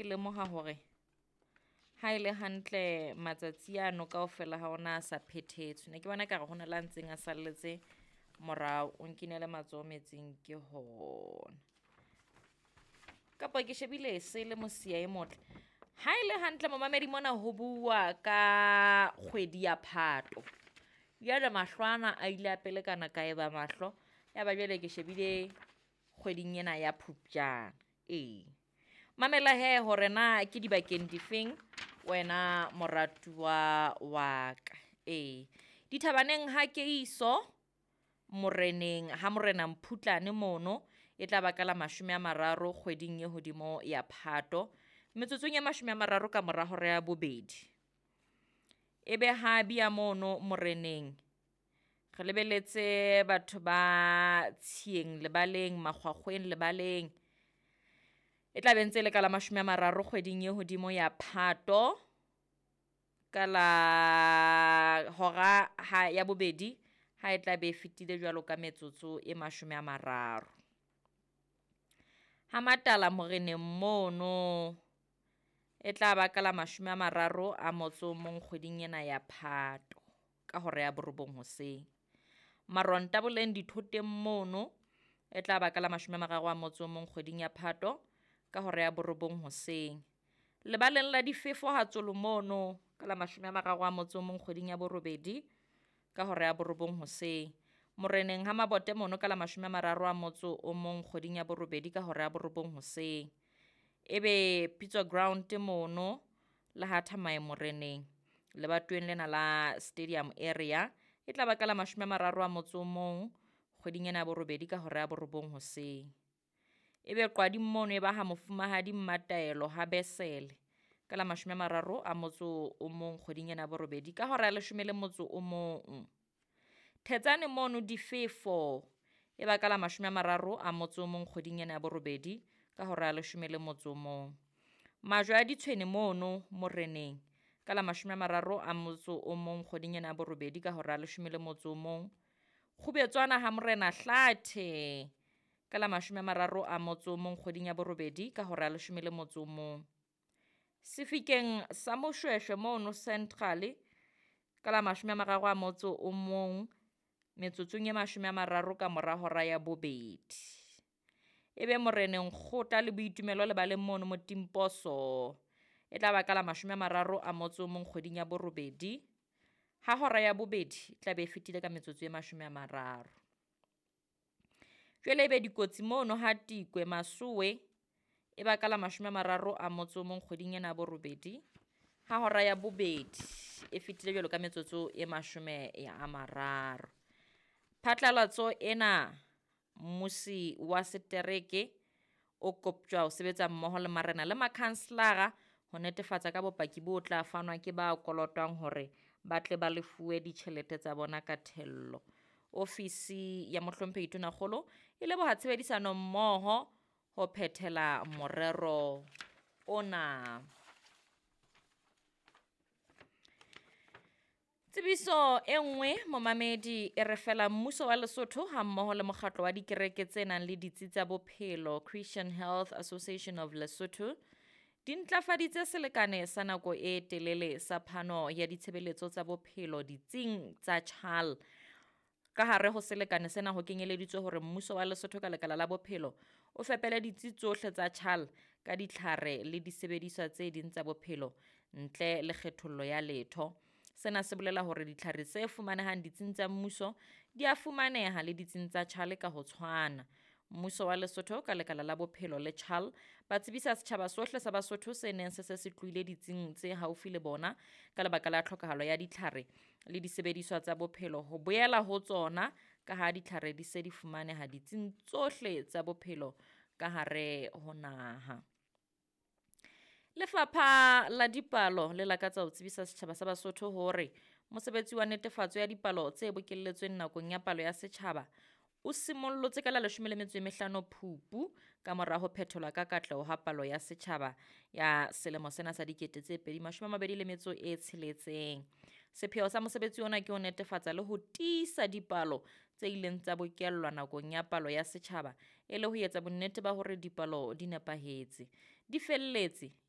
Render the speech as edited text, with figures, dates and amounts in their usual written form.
ke lemoha hore ha e le hantle matsatsi ano kaofela ha ona a sa phethetswe. Ne ke bona ekare hona le a ntseng a salletse morao, o nkinele matsoho metsing ke hona. Kapa ke shebile se le mosia e motle. Ha e le hantle momamedi mona ho bua ka kgwedi ya Phato. Jwale mahlo ana a ile a pelekana ka eba mahlo, ya ba jwale ke shebile kgweding ena ya Phupjane. Ee, mamela hee hore na ke dibakeng difeng wena moratuwa wa ka. Ee, dithabaneng ha Keiso moreneng ha morena Mphutlane mono e tla ba ka la 30 kgweding e hodimo ya Phato, metsotsong e 30 ka mora hora ya bobedi. E be ha bia mono moreneng re lebeletse batho ba Tshieng lebaleng, Makgwakgweng lebaleng. E tla be ntse le ka la 30 kgweding e hodimo ya Phato ka la hora ha ya bobedi ha e tla be e fetile jwalo ka metsotso e 30. Ha Matala moreneng mono e tla ba ka la 31 kgweding ena ya Phato ka hora ya 9 hoseng. Maronta boleng dithoteng mono e tla ba ka la 31 kgweding ya Phato ka hora ya 9 hoseng. Lebaleng la difefo ha Tsolo mono ka la 31 kgweding ya borobedi ka hora ya 9 hoseng. Moreneng ha Mabote mono ka la 31 kgweding ya borobedi ka hora ya 9 hoseng. Ebe Pitso Ground mono le ha Thamae moreneng lebatoweng lena la Stadium area e tla ba ka la 31 kgweding ena ya borobedi ka hora ya 9 hoseng. Ebe Qwading mono e ba ha mofumahadi Mmataelo ha Besele ka la 31 kgweding ena ya borobedi ka hora ya 11. Thetsane mono difefo e ba ka la 31 kgweding ena ya borobedi ka hora ya 11. Majwe a ditshwene mono moreneng ka la 31 kgweding ena ya borobedi ka hora ya 11. Kgubetswana ha morena Hlathe ka la 31 kgweding ya borobedi ka hora ya 11. Sefikeng sa Moshweshwe mono Central ka la 31 metsotsong e 30 ka mora hora ya bobedi. Ebe moreneng Kgotla le Boitumelo lebaleng mono Motimposo e tla ba ka la 31 kgweding ya borobedi ha hora ya bobedi e tla be e fetile ka metsotso e 30. Jwale ebe dikotsi mono ha Tikwe Masowe e ba ka la 31 kgweding ena ya borobedi ha hora ya bobedi e fetile jwalo ka metsotso e 30. Phatlalatso ena mmusi wa setereke o koptjwa ho sebetsa mmoho le marena le makhanselara ho netefatsa ka bopaki bo tla fanwa ke ba kolotwang hore ba tle ba lefuwe ditjhelete tsa bona ka thello. Ofisi ya mohlomphehi Tonakgolo e leboha tshebedisano mmoho ho phethela morero ona. Tsebiso e nngwe momamedi e re fela mmuso wa Lesotho ha mmoho le mokgatlo wa dikereke tse nang le ditsi tsa bophelo Christian Health Association of Lesotho di ntlafaditse selekane sa nako e telele sa phano ya ditshebeletso tsa bophelo ditsing tsa CHAL. Ka hare ho selekane sena ho kenyeleditswe hore mmuso wa Lesotho ka lekala la bophelo o fepele ditsi tsohle tsa CHAL ka ditlhare le disebediswa tse ding tsa bophelo ntle le kgethollo ya letho. Sena se bolela hore ditlhare tse fumanehang ditsing tsa mmuso di a fumaneha le ditsing tsa CHAL ka ho tshwana. Mmuso wa Lesotho ka lekala la bophelo le CHAL ba tsebisa setjhaba sohle sa Basotho se neng se se se tlohile ditsing tse haufi le bona ka lebaka la tlhokahalo ya ditlhare le disebediswa tsa bophelo ho boela ho tsona ka ha ditlhare di se di fumaneha ditsing tsohle tsa bophelo ka hare ho naha. Lefapha la dipalo le lakatsa ho tsebisa setjhaba sa Basotho hore mosebetsi wa netefatso ya dipalo tse bokelletsweng nakong ya palo ya setjhaba o simollotse ka la 15 Phupu ka mora ho phetholwa ka katleho ha palo ya setjhaba ya selemo sena sa 2026. Sepheo sa mosebetsi ona ke ho netefatsa le ho tiisa dipalo tse ileng tsa bokellwa nakong ya palo ya setjhaba e le ho etsa bonnete ba hore dipalo di nepahetse, di felletse.